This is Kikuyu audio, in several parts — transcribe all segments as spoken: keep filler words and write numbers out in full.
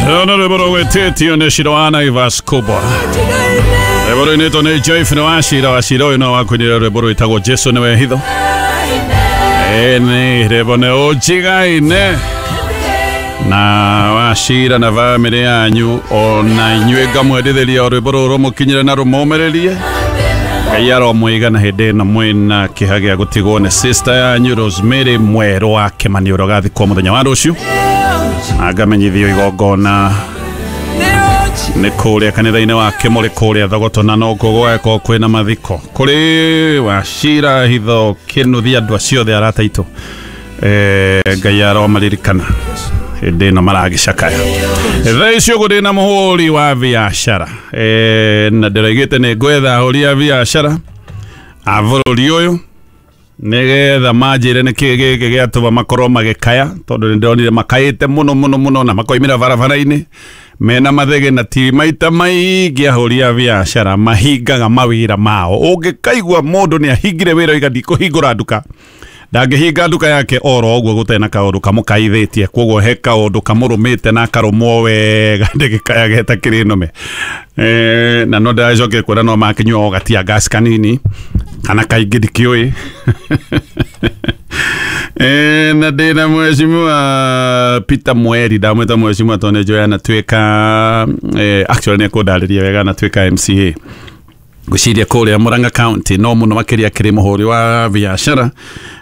Rũno rwĩmbo rũgwĩtĩtio nĩ Shiro wa Naivas Kubwa. Rwĩmbo rũinĩtwo nĩ Joyful wa Shira wa Shira ũyũ no wakuinĩra rwĩmbo rwĩtagwo Jesu nĩwe hitho. Ĩni rwĩmbo nĩ ũnjigaine na Wachira na bamĩrĩ yanyu ona inyuĩ ngamwendithĩria o rwĩmbo rũrũ rũmũkinyĩre na rũmũmĩrĩrie. Ngai aromũigana hĩndĩ ĩno mwĩna kĩeha gĩa gũtigwo nĩ sister yanyu Rosemary Mwerũ wa Kĩmani ũrĩa ũgathikwo mũthenya wa rũciũ. Na ngamenyithio igongona nĩ kũrĩa kanitha-inĩ wa Kĩmũrĩ kũrĩa Thogoto na nokuo gũgagĩkorwo kwĩna mathiko kũrĩ Wachira Hitho Kĩnuthia andũ acio othe arata aitũ. Eh, Ngai aromaririkana hĩndĩ ĩno maragĩcakaya. Thaa ici ũguo ndĩna mũhũri wa biacara eh, na ndĩroigĩte nĩ ngwetha ahũri a biacara a bũrũri ũyũ nĩgetha manjĩre nĩkĩĩ gĩkĩ gĩatũma makorwo magĩkaya tondũ nĩndĩronire makaĩte mũno mũno mũno na makoimĩra barabara-inĩ mena mathege na ti maita maingĩ ahũri a biacara mahingaga mawĩra mao. Ũngĩkaigua mũndũ nĩ ahingire wĩra oiga ndikũhingũra nduka, ndangĩhinga nduka yake oro ũguo gũtarĩ na kaũndũ kamũkaithĩtie. Koguo he kaũndũ kamũrũmĩte na akarũmwo wega ndĩgĩkaya geta kĩrĩ nũme. Eh, na no ndĩracokire kuona no makĩnyua o gatia gas kanini kana kaingĩ ndikĩũĩ. Eh, na ndĩna mheshimiwa Peter Mweri, ndamwĩta mheshimiwa tondũ nĩnjũĩ anatuĩka eh, actually nĩekũndarĩria wega anatuĩka M C A ngwĩciria kũrĩa Murang'a County no mũno makĩria akĩrĩ mũhũri wa biacara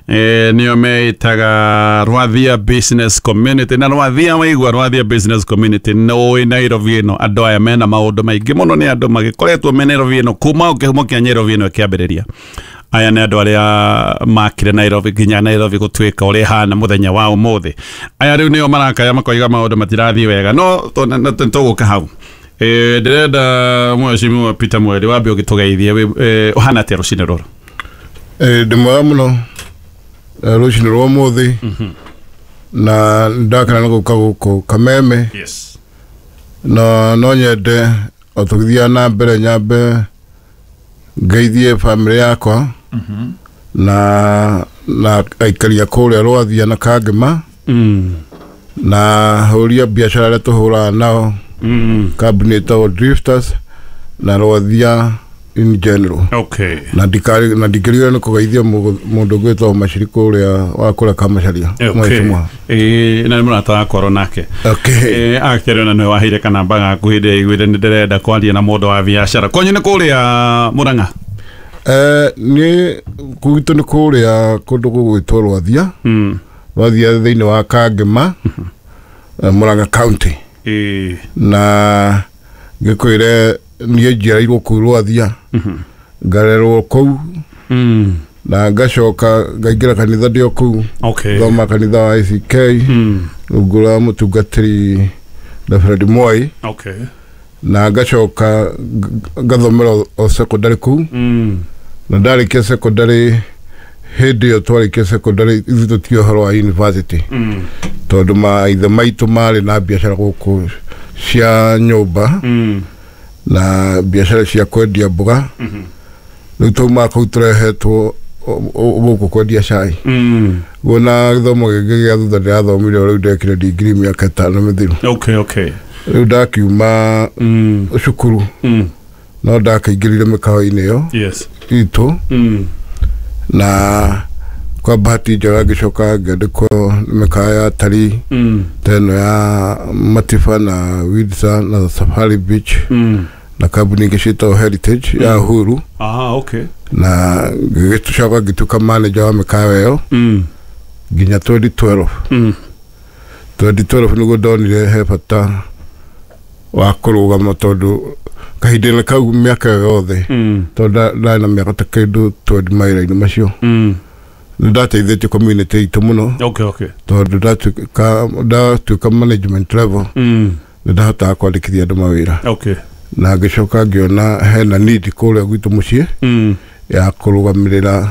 eh, nĩo meĩtaga Rwathia Business Community. Na Rwathia waigua Rwathia Business Community nĩũĩ Nairobi ĩno andũ aya mena maũndũ maingĩ mũno, nĩ andũ magĩkoretwo me Nairobi ĩno kuma o kĩhumo kĩa Nairobi ĩno ĩkĩambĩrĩria. Aya nĩ andũ arĩa makire Nairobi nginya Nairobi gũtuĩka ũrĩa ĩhana mũthenya wa ũmũthĩ. Aya rĩu nĩo marakaya makoiga maũndũ matirathiĩ wega, no tũgũka hau. Eh, ndĩrenda mheshimiwa Peter Mweri wambe ũgĩtũgeithie ũhana atĩa rũcinĩ rũrũ? Eh, ndĩ mwega mũno rũcinĩ rwa ũmũthĩ na ndakena nĩ gũka gũkũ Kameme. Yes. Na no nyende o tũgĩthiaga na mbere nyambe ngeithie bamĩrĩ yakwa na na aikari a kũrĩa Rwathia na Kangema na ahũri a biacara arĩa tũhũraga nao Mm. kambuni ĩtagwo Drifters na Rwathia in general. Okay. Na ndikari na ndikĩrigwo nĩ kũgeithia mũndũ ũngĩ wĩtagwo Maciri kũrĩa wa kũrĩa Kamacharia. Okay. Eh, na nĩ mũrata wakwa oro nake. Okay. Eh, akĩrĩ ona nĩwe waheire kanamba gaku hĩndĩ ĩrĩa aiguire nĩ ndĩrenda kwaria na mũndũ wa biacara. Kwanyu nĩ kũrĩa Murang'a? Eh, nĩ gwitũ nĩ kũrĩa kũndũ gũgwĩtwo Rwathia. Mm. Rwathia thĩinĩ wa Kangema, Murang'a County. Eh. Na ngĩkwĩre niĩ njiarĩirwo kũu Rwathia, ngarerwo kũu Mm. na ngacoka ngaingĩra kanitha ndĩ o kũu. Okay. Thoma kanitha wa I C K Mm. rungu rwa mũtungatĩri Reverend Moi. Okay. Na ngacoka ngathomera o secondary kũu. Mm. Na ndarĩkia secondary hĩndĩ ĩyo twarĩkia secondary ithuĩ tũtiũĩ ũhoro wa university. Mm. Tondũ maithe maitũ marĩ na biacara gũkũ cia nyũmba Mm. na biacara cia kwendia mboga. Rĩu taumaga kũu tũrehetwo gũkũ kwendia cai. Mm. Guo na gĩthomo gĩngĩ gĩa thutha ndĩrathomire o rĩu ndekire degree mĩaka ĩtano mĩthiru. Okay, okay. Rĩu ndakiuma Mm. cukuru Mm. no ndakaingĩrire mĩkawa-inĩ ĩyo Yes. itũ Mm. na kwa bahati njega ngĩcoka ngĩandĩkwo nĩ mĩkawa ya atalii Mm. ta ĩno ya Matifa na Windsor na Safari Beach Mm. na kambuni ingĩ ciĩtagwo Heritage ya Uhuru. Ah, okay. Na ngĩgĩcoka ngĩtuĩka manager wa mĩkawa ĩyo Mm. nginya twenty twelve. Mm. twenty twelve nĩguo ndonire he bata wa kũrũgama tondũ kahinda-inĩ kau mĩaka ĩyo yothe Mm. tondũ ndarĩ na mĩaka ta kĩndũ twenty mawĩra-inĩ macio Mm. nĩ ndateithĩtie community itũ mũno. Okay, okay. Tondũ ndatuĩka ndatuĩka management level Mm. nĩ ndahotaga kwandĩkithia andũ mawĩra. Okay. Na ngĩcoka ngĩona hena need kũrĩa gwitũ mũciĩ Mm. ya kũrũgamĩrĩra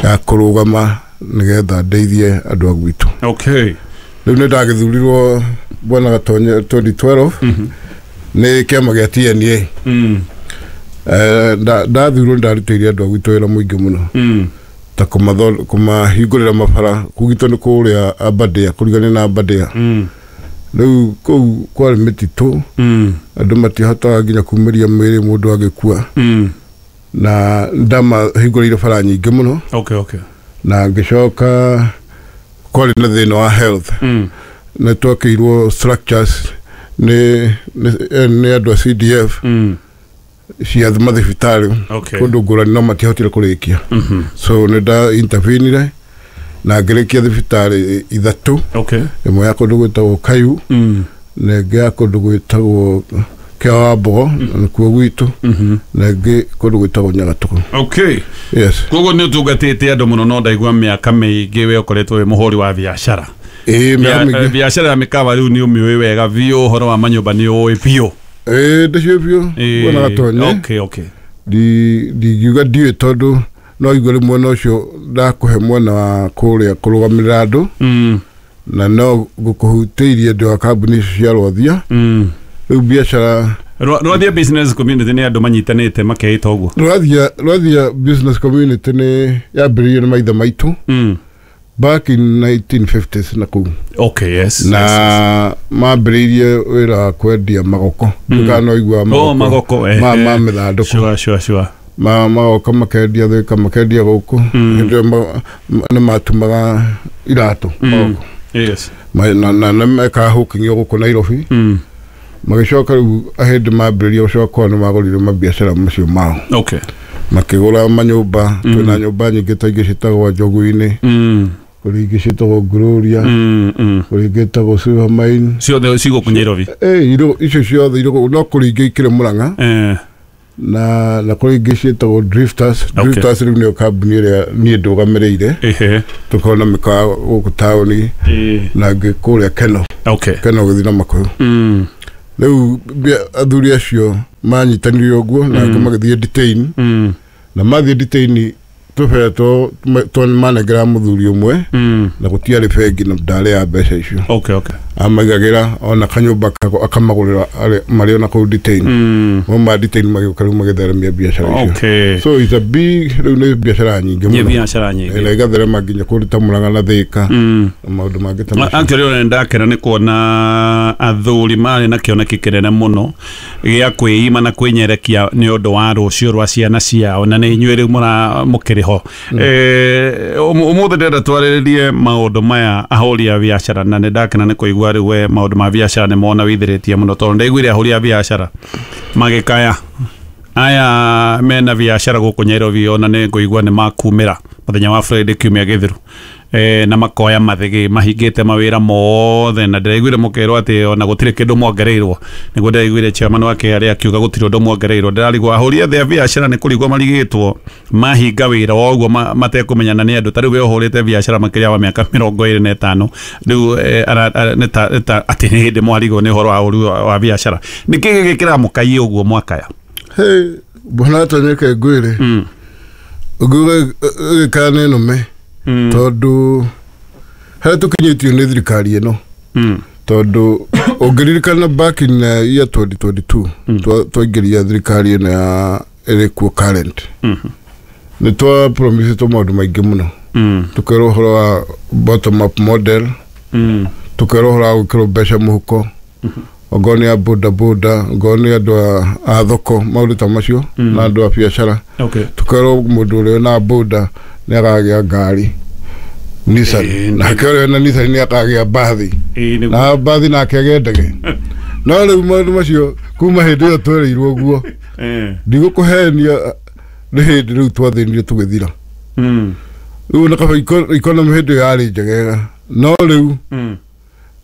ya kũrũgama nĩgetha ndeithie andũ a gwitũ. Okay. Rĩu nĩ ndagĩthurirwo Bwana Gatonye twenty twelve nĩ kĩama gĩa T N A. Mm. Eh, ndathurwo ndarutĩire andũ a gwitũ wĩra mũingĩ mũno Mm. ta kũmathondeka kũmahingũrĩra mabara kũgitwo nĩ kũrĩa Aberdare kũrigania na Aberdare. Mm. Rĩu kũu kwarĩ mĩtitũ, Mm. andũ matihotaga nginya kumĩria mwĩrĩ mũndũ agĩkua. Mm. Na ndamahingũrĩire bara nyingĩ mũno. Okay, okay. Na ngĩcoka kwarĩ na thĩna wa health. Mm. Nĩ twakĩirwo structures nĩ nĩ nĩ andũ a C D F Mm. cia mathibitarĩ Okay. kũndũ ngũrani, no matiahotire kũrĩkia. Mhm. So nĩ nda intervenire na ngĩrĩkia thibitarĩ ithatũ. Okay. Ĩmwe ya kũndũ gwĩtagwo Kayu, Mm. na ĩngĩ ya kũndũ gwĩtagwo Kĩa Mbogo, na nĩkuo gwitũ, Mhm. na ĩngĩ kũndũ gwĩtagwo Nyagatũgũ. Okay. Yes. Koguo nĩ ũtungatĩte andũ mũno, no ndaigua mĩaka mĩingĩ we ũkoretwo wĩ mũhũri wa biacara. Ĩĩ, mĩaka Bia- mĩingĩ. Biacara ya mĩkawa rĩu nĩ ũmĩũĩ wega biũ, ũhoro wa manyũmba nĩ ũĩ biũ. Ĩĩ, ndĩciũĩ biũ. Ĩĩ, Kuona gatonye. Okay, okay. Ndi- ndingiuga ndiũĩ, tondũ no igue rĩ mwena ũcio ndakũhe mwena wa kũrĩa kũrũgamĩrĩra andũ, Mm. na no ngũkũhutĩirie ndĩ wa kambuni icio cia Rwathia. Mm. Rĩu biacara Rwa- Rwathia business community nĩ andũ manyitanĩte makeĩta ũguo. Rwathia Rwathia business community nĩ yambĩrĩirio nĩ maithe maitũ Mm. back in nineteen fifties na kũu. Okay, yes. Na yes, yes. mambĩrĩirie wĩra wa kwendia magoko. Mm. Kana no igua Oh, magoko, eh, ma eh. ma mĩthandũkũ. Sure, sure, sure. Ma magoka makendia Thĩka, makendia gũkũ. Mm. Hĩndĩ ĩyo ma- ma- nĩ matumaga iratũ. Mm. Magoko. Yes. Ma- na na nĩ mekaga hooking gũkũ Nairobi. Mm. Magĩcoka rĩu ahĩndĩ mambĩrĩria gũcoka kwao nĩ magũrire mabiacara macio mao. Okay. Makĩgũra manyũmba. Mm. Twĩna nyũmba nyingĩ ta ingĩ ciĩtagwo Njogu-inĩ, Mm. kũrĩ ingĩ ciĩtagwo Gloria, Mm. Mm. kũrĩ ingĩ ĩtagwo Silver Mine. Ciothe cigũkũ Nairobi. Eh, irũ icio ciothe irũ, no kũrĩ ingĩ ikĩrĩ Mũrang'a, Eh. na na kũrĩ ingĩ ciĩtagwo Drifters. Okay. Drifters rĩu nĩyo kambuni ĩrĩa niĩ ndũgamĩrĩire. Ehe. Tũkorwo na mĩkawa gũkũ taũni Eh. na ĩngĩ kũrĩa Keno. Okay. Keno gũthiĩ na Makũyũ. Mm. Rĩu bia- athuri acio manyitanire ũguo na angĩ Mm. magĩthiĩ detain. Mm. Na mathiĩ detain tũbera two two manengera mũthuri ũmwe, Mm. na gũtiarĩ bengi na ndarĩ ya mbeca icio. Okay, okay. Amaigagĩra ona kanyũmba kako akamagũrĩra arĩ- marĩ ona kũu detain. Mm. Mauma detain magĩũka rĩu magĩtheremia biacara icio. Okay. So it's a big, rĩu nĩ biacara nyingĩ Nĩ mũno. biacara nyingĩ. Na ĩgatherema nginya kũndũ ta Mũrang'a na Thĩka Mm. na maũndũ mangĩ ta macio. Actually ona ndakena nĩ kuona athuri marĩ na kĩoneki kĩnene mũno gĩa kwĩima na kwĩnyerekia nĩ ũndũ wa rũciũ rwa ciana ciao, na nĩ inyuĩ rĩu mũra mũkĩrĩ ho. Eh, ũmũ- ũmũthĩ ndĩrenda twarĩrĩrie maũndũ maya ahũri a biacara, na nĩ ndakena nĩ kũigua rĩu we maũndũ ma biacara nĩ mona withĩrĩtie mũno, tondũ ndaiguire ahũri a biacara magĩkaya aya mena biacara gũkũ Nairobi, ona nĩ ngũigua nĩ makumĩra mũthenya wa Friday kiumia gĩthiru, eh, na makoya mathĩgĩ mahingĩte mawĩra mothe, na ndĩraiguire mũkerwo atĩ ona gũtirĩ kĩndũ mwongereirwo. Nĩguo ndĩraiguire chairman wa K R A akiuga gũtirĩ ũndũ mwongereirwo. Ndĩrarigwo ahũri othe a biacara nĩ kũrigwo marigĩtwo mahinga wĩra o ũguo matekũmenyana nĩ andũ. Ta rĩu we ũhũrĩte biacara makĩria wa mĩaka mĩrongo ĩrĩ na ĩtano rĩu, eh, ara- ara- nĩ ta- nĩ ta atĩ nĩ hĩndĩ mwarigwo nĩ ũhoro wa ũhũri wa wa biacara. Nĩ kĩĩ gĩkĩra mũkaiye ũguo mwakaya? Hey, bwana tonyeke ngwĩre, Mm. ũngiuga ĩgĩkaya nĩ nũme, Mm. tondũ harĩa tũkinyĩtio nĩ thirikari ĩno, Mm. tondũ ũngĩririkana back in uh, year twenty twenty-two, Mm. twa- twaingĩria thirikari ĩno ya ĩrĩ kuo current, Mhm. nĩ twa promisĩtwo maũndũ maingĩ mũno. Mm. Tũkerwo ũhoro wa bottom up model, Mm. tũkerwo ũhoro wa gwĩkĩrwo mbeca mũhuko, ongorwo nĩ a boda boda, ongorwo nĩ andũ a- a thoko, maũndũ ta macio, Mm. na andũ a biacara. Okay. Tũkerwo mũndũ ũrĩa wĩna boda nĩ akagĩa ngari Nissan, Ĩĩ, nake ũrĩa wĩna Nissan nĩ akagĩa mbathi, Ĩĩ, nĩguo. na mbathi nake agĩe ndege. No rĩu maũndũ macio kuma hĩndĩ ĩyo twereirwo ũguo, Eh. ndigũkũhenia, nĩ hĩndĩ rĩu twathĩnire tũgĩthira. Mm. Rĩu na kaba economy hĩndĩ ĩyo yarĩ njegega, no rĩu Mm.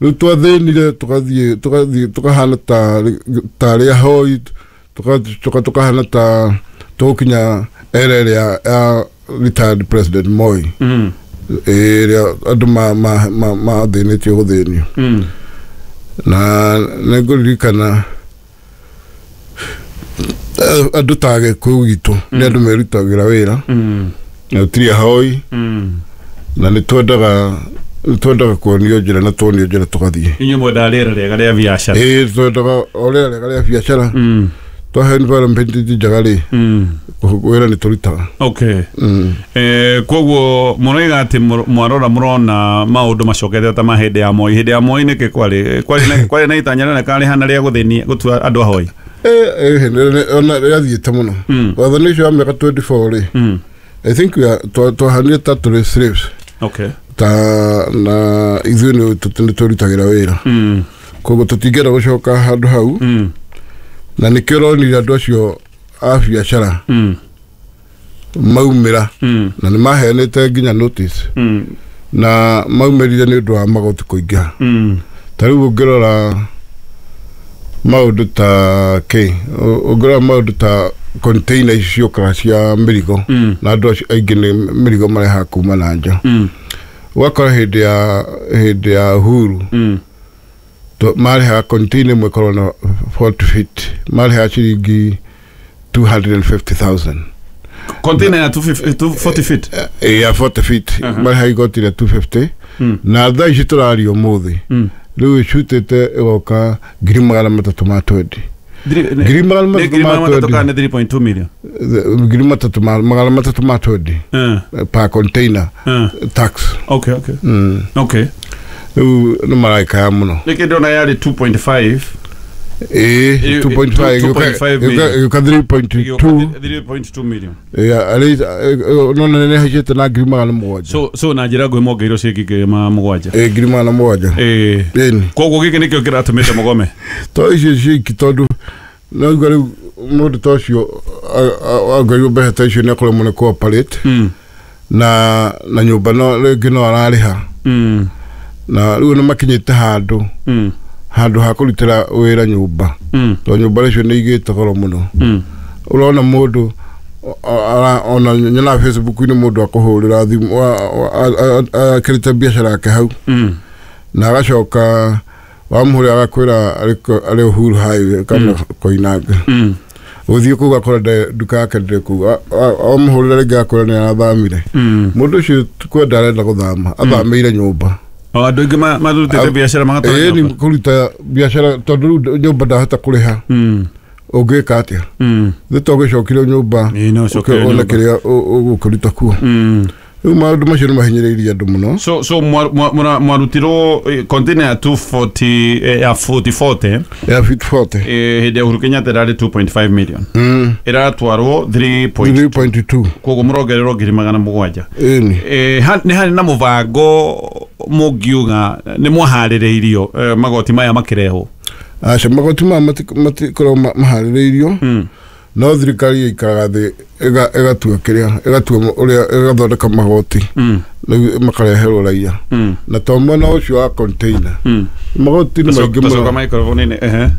rĩu twathĩnire tũgathiĩ tũgathiĩ tũkahana ta tarĩ ahoi, tũgacoka tũkahana ta tũgũkinya era ĩrĩa ya retired President Moi, Mm. ĩrĩa andũ ma- ma- ma- mathĩnĩtio gũthĩnio. Mm. Na nĩ ngũririkana eh, andũ ta Gĩkũyũ gitũ nĩ andũ merutagĩra wĩra, Mm. na tũtirĩ ahoi, Mm. na nĩ twendaga nĩ twendaga kuonio njĩra, na tuonio njĩra tũgathiĩ. Inyuĩ mwendaga rĩera rĩega rĩa biacara. Ĩĩ, twendaga o rĩera rĩega rĩa biacara. Mm. Twahe environment njega rĩ, Mm. wĩra nĩ tũrutaga. Okay. Mm. Eh, koguo mũroiga atĩ mũr- mwarora mũrona maũndũ macokete ta ma hĩndĩ ya Moi. Hĩndĩ ya Moi nĩkĩ kwarĩ kwarĩ na kwarĩ na itanya rĩoneka rĩhana rĩa gũthĩnia gũtua andũ ahoi? Eh, eh, ona rĩathiĩte mũno. Mm. Wathani ũcio wa mĩaka twenty-four rĩ, Mm. I think we are twahanire ta tũrĩ slaves. Okay. Ta na ithuĩ nĩ tũ- nĩ twĩrutagĩra wĩra. Mm. Koguo tũtingĩenda gũcoka handũ hau. Mm. Na nĩkĩo ũronire andũ acio a biacara Mm. maumĩra, Mm. na nĩ maheanĩte nginya notice, Mm. na maumĩrire nĩ ũndũ wa magoti kũingĩha. Mm. Ta rĩu ũngĩrora maũndũ ta kĩ, ũngĩrora maũndũ ta container ici ciũkaga cia mĩrigo, Mm. na andũ acio aingĩ nĩ mĩrigo marehaga kuma na nja. Mm. Ũgakora hĩndĩ ya hĩndĩ ya Uhuru, Mm. to- marehaga container ĩmwe ĩkorwo na forty feet, marehaga ciringi two hundred and fifty thousand. Container ya two fifty, two forty feet. Eh, ya forty feet. Aha. Marehaga igoti rĩa two fifty. Mm. Na thaa ici tũraria ũmũthĩ, Mm. rĩu ĩcutĩte ĩgoka ngiri magana matatũ ma twenty. Ngiri Ngiri magana nĩ matatũ ngiri ma magana matatũ twenty. kana nĩ three point two million? Ngiri matatũ ma magana matatũ ma twenty Eh, per container eh. tax. Okay, okay. Mm. Okay. Rĩu nĩ maraikaya mũno. Nĩkĩ ndĩrona yarĩ two point five? Ĩĩ, two point five, two point five million. ĩgĩũka three point two. three point two million. Yeah, arĩ no nene haicĩte na ngiri magana mũgwanja. So so na njĩra nguhĩ mongeirwo ciringi ngiri magana mũgwanja. Ĩĩ, ngiri magana mũgwanja. Ĩĩ. Ĩni. Koguo gĩkĩ nĩkĩo kĩratũmĩte mũgome? To icio ciiki, tondũ no igua rĩu mũndũ ta ũcio ongereirwo mbeca ta icio nĩ akorwo nĩ cooperate. Mm. Na na nyũmba no rĩngĩ no ararĩha. Mm. Na rĩu nĩ makinyĩte handũ, Mm. handũ ha kũrutĩra wĩra nyũmba. Mm. Tondũ nyũmba icio nĩ igĩte goro mũno. Mm. Ũrona mũndũ ona nyonaga Facebook-inĩ mũndũ akũhũrĩra thimũ akĩrĩte biacara yake hau. Mm. Na agacoka wamũhũrĩra agakwĩra arĩ Uhuru Highway kana Koinange. Mm. Ũthiĩ kũu ũgakora nduka yake ndĩrĩ kũu. Wamũhũrĩra rĩngĩ agakwĩra nĩ arathamire. Mm. Mũndũ ũcio kwenda arenda gũthama, athamĩire nyũmba. O andũ aingĩ marutĩte biacara magatwara Ĩĩ, nyũmba. nĩ kũruta biacara tondũ rĩu nyũmba ndahota kũrĩha. Mm. Ũngĩka atĩa? Mm. Nĩ to ũgĩcokire nyũmba, Ĩĩ, no ũcokere ũkĩona nyũmba. kĩrĩa ũgũkĩruta kuo. Mm. Rĩu maũndũ macio nĩ mahinyĩrĩirie andũ mũno. So so mwarutirwo container ya two forty, ya forty forty. Ya feet forty. Eh, hĩndĩ ya Uhuru Kenyatta ĩrarĩ two point five million. Mm. Ĩratwarwo three point three point two. Koguo mũrongererwo ngiri magana mũgwanja. Ĩni. Eh, nĩ harĩ na mũbango mũngiuga nĩ mwaharĩrĩirio magoti maya makĩrehwo? Aca, magoti maya matikoragwo maharĩrĩirio. Mm. No thirikari ĩikaraga thĩ ĩgatua kĩrĩa, ĩgatua ũrĩa ĩgathondeka magoti. Mm. Rĩu makareherwo raia. Mm. Na to mwena ũcio wa container. Mm. Magoti nĩ maingĩ mũno. Tacoka microphone-inĩ, ehe.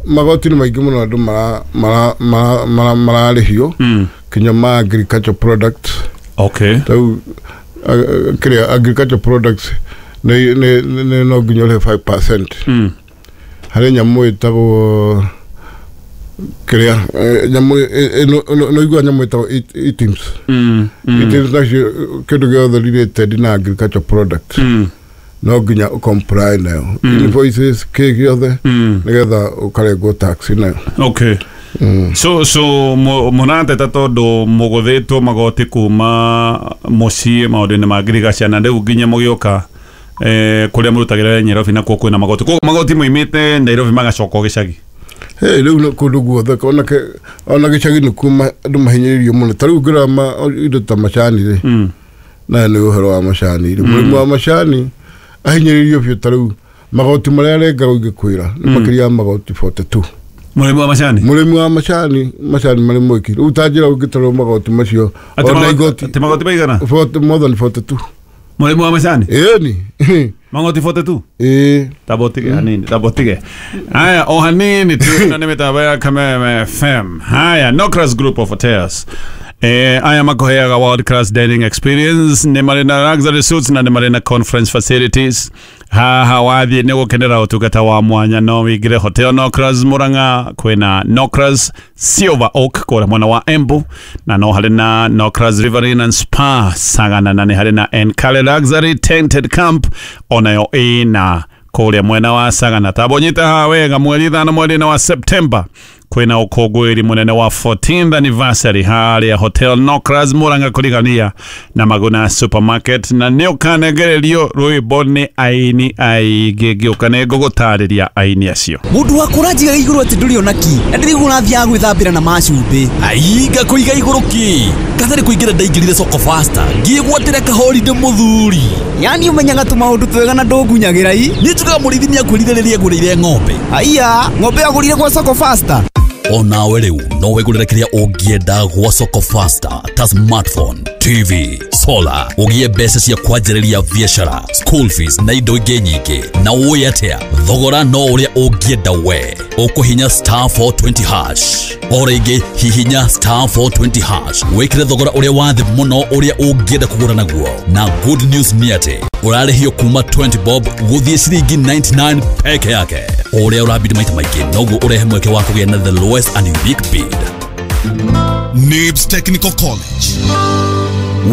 Magoti nĩ maingĩ mũno andũ mara mara mara mararĩhio. Mm. Kinya ma agriculture products. Okay. Rĩu kĩrĩa agriculture products nĩ nĩ no nginya ũrĩhe five percent. Mm. Harĩ nyamũ ĩtagwo kĩrĩa, nyamũ no igua nyamũ ĩtagwo items. Mm. Items nacio kĩndũ gĩothe related na agriculture products. Mm. No nginya ũcomply nayo. Invoices kĩ gĩothe nĩgetha ũkarengwo tax nayo. Okay. Mm. So so mũrateta tondũ mũgũthĩtwo magoti kuma mũciĩ maũndũ-inĩ ma ngirigaca na rĩu nginya mũgĩũka eh kũrĩa mũrutagĩra Nairobi nakuo kwĩna magoti. Koguo magoti moimĩte Nairobi magacoka gĩcagi. Hey, rĩu kũndũ guothe ona ona gĩcagi nĩ kuo andũ mahinyĩrĩirio mũno. Ta rĩu ũngĩrora indo ta macani rĩ, Mm. na nĩ ũhoro wa macani rĩ, mũrĩmi wa macani ahinyĩrĩirio biũ. Ta rĩu magoti marĩa arengagwo ingĩkwĩra nĩ makĩria ya magoti forty two. Mũrĩmi wa macani? Mũrĩmi wa macani, macani marĩ mwiki. Rĩu ta njĩra ũngĩtarwo magoti macio ona igoti Atĩ magoti maigana? Forty, more than forty two. Mũrĩmi wa macani? Ĩni. Magoti forty two? Ĩĩ. Tabotige hanini, tabotige. Haya, o hanini tu na nĩ mĩtambo ya Kameme F M. Haya, Nocras Group of Hotels. Eh, aya makoheaga world class dining experience, nĩ marĩ na luxury suites na nĩ marĩ na conference facilities. Haha wathiĩ nĩ gũkenera ũtungata wa mwanya, no wĩingĩre Hotel Nocras Murang'a, kwĩna Nocras Silver Oak kũrĩa mwena wa Embu, na no harĩ na Nocras Riverine and Spa Sagana, na nĩ harĩ na Enkare Luxury Tented Camp onayo ĩna kũrĩa mwena wa Sagana. Tabonyita haha wega, mweri ithano mweri-inĩ wa September Kwina ukũngũĩri mũnene wa fourteenth anniversary harĩa Hotel Nokras Murang'a kũrigania na Maguna Supermarket, na nĩ ũkanengererio rwĩmbo nĩ aini aingĩ. Ngĩũka nĩ ngũgũtarĩria aini acio. Mundu wa kũranjiga igũrũ atĩ ndũrĩ ona ki na ndĩrĩguo ũrathiaga gwĩthambĩra na macumbĩ. Aiga kũiga igũrũ ki katarĩ kũingĩra ndaingĩrire Soko Faster ngĩgwatĩra kahorinde mũthuri. Yani ũmenyaga tũmaũndũ twega na ndũngunyagĩra i. Niĩ njugaga mũrĩithi nĩakwĩrire rĩrĩa agũrĩire ng'ombe. Aiya, ng'ombe agũrire gwa Soko Faster. Onawe rĩu no wĩgũrĩre kĩrĩa ũngĩenda gwa Soko Faster ta smartphone, T V, solar, ũgĩe mbeca cia kwanjĩrĩria biacara, school fees na indo ingĩ nyingĩ. Na ũĩ atĩa, thogora no ũrĩa ũngĩenda we. Ũkũhinya star four twenty hash. O rĩngĩ hihinya star four twenty hash wĩkĩre thogora ũrĩa wa thĩ mũno ũrĩa ũngĩenda kũgũra naguo. Na good news nĩ atĩ ũrarĩhio kuma twenty bob gũthiĩ ciringi ninety-nine peke yake. O ũrĩa ũrabidi maita maingĩ noguo ũrehe mweke wa kũgĩa na the lowest and unique bid. Nibs Technical College.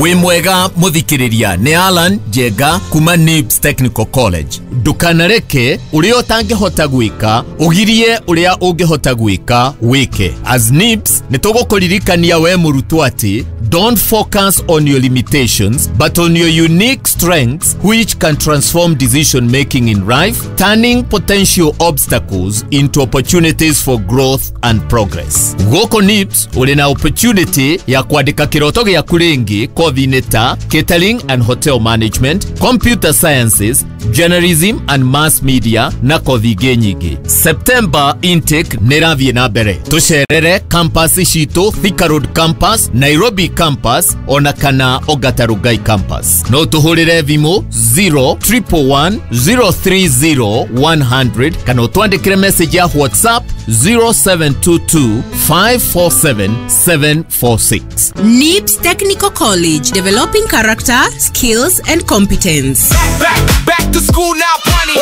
Wĩ mwega mũthikĩrĩria, nĩ Alan Njenga kuma Nibs Technical College. Ndũkanareke ũrĩa ũtangĩhota gwĩka ũgirie ũrĩa ũngĩhota gwĩka wĩke. As Nibs nĩ tũgũkũririkania we mũrutwo atĩ don't focus on your limitations but on your unique strengths which can transform decision making in life, turning potential obstacles into opportunities for growth and progress. Gũkũ Nibs ũrĩ na opportunity ya kwandĩka kĩroto gĩaku rĩngĩ kothi-inĩ ta catering and hotel management, computer sciences, journalism and mass media na kothi ingĩ nyingĩ. September intake nĩ ĩrathiĩ na mbere. Tũcerere campus citũ, Thika Road campus, Nairobi campus ona kana Ongata Rongai campus. No tũhũrĩre thimũ zero triple one zero three zero one hundred kana ũtwandĩkĩre message ya WhatsApp zero seven two two five four seven seven four six. Nibs Technical College, developing character, skills and competence. Back, back, back to school now, bunny.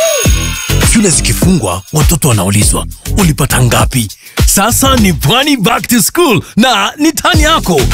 Shule zikifungwa watoto wanaulizwa ulipata ngapi? Sasa ni Pwani back to school na ni tani yako.